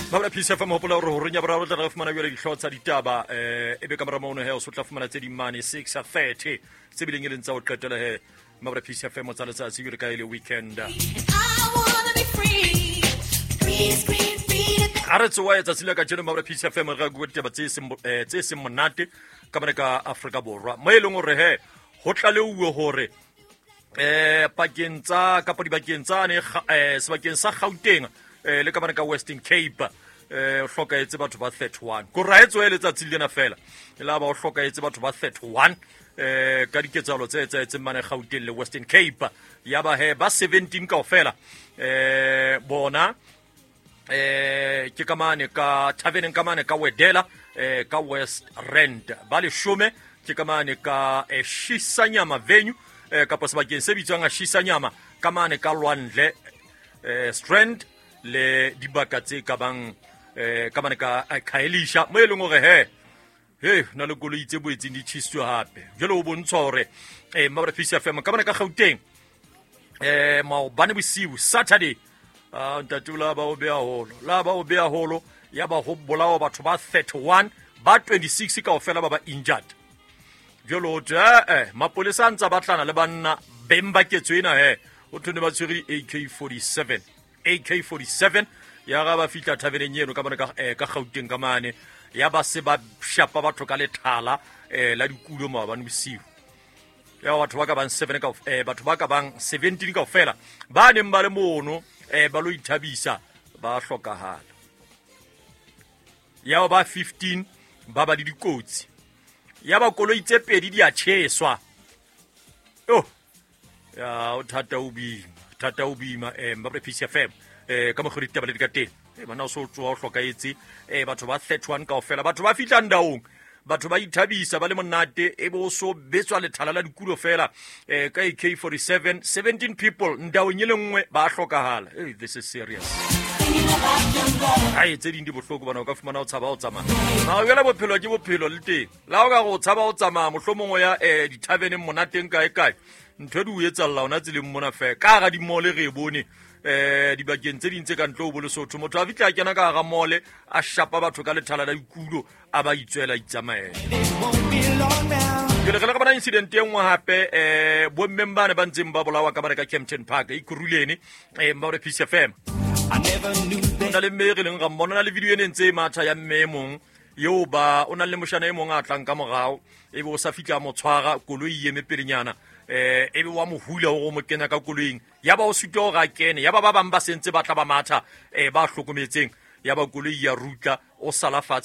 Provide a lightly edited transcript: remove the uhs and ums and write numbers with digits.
Mabra Peace FM, hopola hore horeng ya boraro tla re fumana jwale dihlooho tsa ditaba, ebe ka mora mono he o so tla fumana tse ding mane 6:30 tse bileng e leng tsa ho qetela he. Mabra Peace FM tsa letsatsi jwale ka e le weekend. A re tsoa tsatsi la kajeno Mabra Peace FM re bua ditaba tse seng tse seng monate ka mane ka Afrika Borwa, mo e leng hore he ho tlaleuwe hore pakeng tsa kapa dibakeng tsane sebakeng sa Gauteng le ka mane ka Western Cape, o hlokahetse batho ba 31. Ko ra etsoe letsatsi lena fela e la ba o hlokahetse batho ba 31 ka diketsahalo tse etsahetseng mane Gauteng le Western Cape. Ya ba he ba 17 kaofela bona ke ka mane ka taverneng ka mane ka Wedela, ka West Rand. Ba leshome ke ka mane ka Shisanyama venue, kapa sebakeng se bitswang Shisanyama ka mane ka Lwandle, Strand le dibaka tse ka bang ka mane ka Khayelitsha, mo e leng hore he he na le koloi tse boetseng di tjhisitswe hape. Jwale ho bontshwa hore Mabra Peace FM ka mane ka Gauteng maobane bosiu Saturday, ntate la ba o beha holo, la ba o beha holo, ya ba ho bolawa batho ba 31, ba 26 kaofela ba ba injured. Jwale ho thwe mapolesa a ntsa batlana le banna beng ba ketso ena he, ho thwe ne ba tshwere AK47 AK47. Ya ga ba fihla thaveneng eno ka mane ka Gauteng ka mane, ya ba se ba shapa batho ka lethala la dikulo maobane bosiu. Ya batho ba ka bang 7 ka batho ba ka bang 17 kaofela ba neng ba le mono ba lo ithabisa ba hlokahala. Ya ba 15 ba ba le dikotsi. Ya ba koloi tse pedi di a tjheswa. Oh, ya o thata o boima, thata o boima. Mabra Peace FM ka mokgwa ditaba le di ka teng. Bana o so tsoha o hlokahetse, batho ba 31 kaofela, batho ba fihlang daong, batho ba ithabisa ba le monate, e bo so betswa lethala la dikulo fela ka AK47, 17 people ndaong e le nngwe ba hlokahala. Hey, this is serious. Ai tse ding di bohloko bana, o ka fumana o tshaba o tsamaya. Ma jwale bophelo ke bophelo le teng. La o ka go tshaba o tsamaya mohlomong o ya dithaveneng monateng kae kae, ntho di o etsalla ona tseleng mona fe ka hara dimole re e bone dibakeng tse ding tse ka ntle ho bo Lesotho. Motho a fihla a kena ka hara mole a shapa batho ka lethala la dikulo, a ba itswela itsamaela. Ke le re bona incident e nngwe hape, bommeng bane ba ntseng ba bolawa ka mane ka Kempton Park Ekurhuleni, Mabra Peace FM. O na le mme re leng ra mmona, na le video e ne ntse e matha ya mme e mong eo ba o na le moshana e mong a tlang ka morao, ebe o sa fihla mo tshwara koloi e eme pelenyana, ebe wa mo hula hore o mo kenya ka koloing, ya ba o sutwa hore a kene, ya ba ba bang ba sentse ba tla ba matha ba hlokometseng, ya ba koloi ya rutla o sala fatshe.